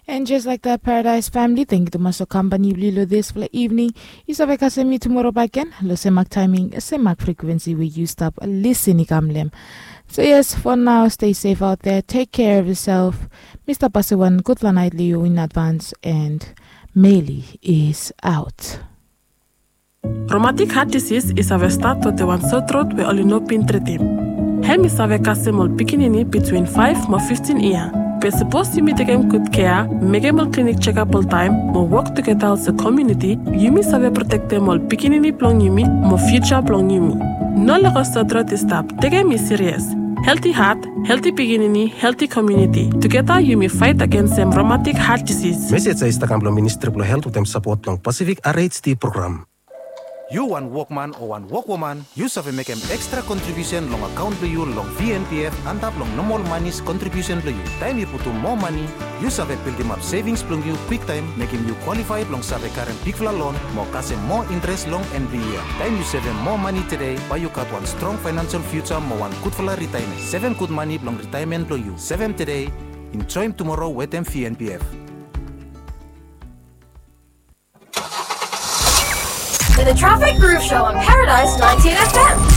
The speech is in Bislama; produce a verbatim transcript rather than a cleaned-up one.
And just like that, Paradise family, thank you tumas long kampani blong yu long dispela evening. Yu save kasem mi tumora bakegen long sem mak timing, sem mak frekuensi we yu stap lisin i kam long em. So yes, for now, stay safe out there. Take care of yourself. Mi stap pasim wan gudfala nait long yu in advance, and Meli is out. Romatik hat disis i save stat wetem wan sotrot we oli no bin tritim. Hem i save kasem ol pikinini bitwin faef mo fiftin yia. Be sapos yumi tekem gud kea, mekem ol klinik jekap oltaem, mo wok tugeta olsem komuniti, yumi save protektem ol pikinini blong yumi mo fiuja blong yumi. No lego sotrot i stap. Tekem i sirias. Helti hat, helti pikinini, helti komuniti. Tugeta yumi faet agensem romatik hat disis. Mesej ya i stap kam long Ministri blong Helt wetem sapot blong Pasifik R H D program. Yu wan wokman o wan wokwoman, yu save mekem ekstra kontribiusen long akaon blong yu long V N P F antap long nomol manis kontribiusen blong yu. Taem yu putum moa mani, yu save bildimap sevings blong yu kwiktaem, mekem yu kwalifae blong save karem bigfala lon mo kasem moa interes long en blong yia. Taem yu sevem moa mani tede, bae yu gat wan strong faenansel fiuja mo wan gudfala ritaemen. Sevem gud mani blong ritaemen blong yu. Sevem tede, enjoem tumoro wetem V N P F. The Traffic Groove Show on Paradise ninety-eight F M.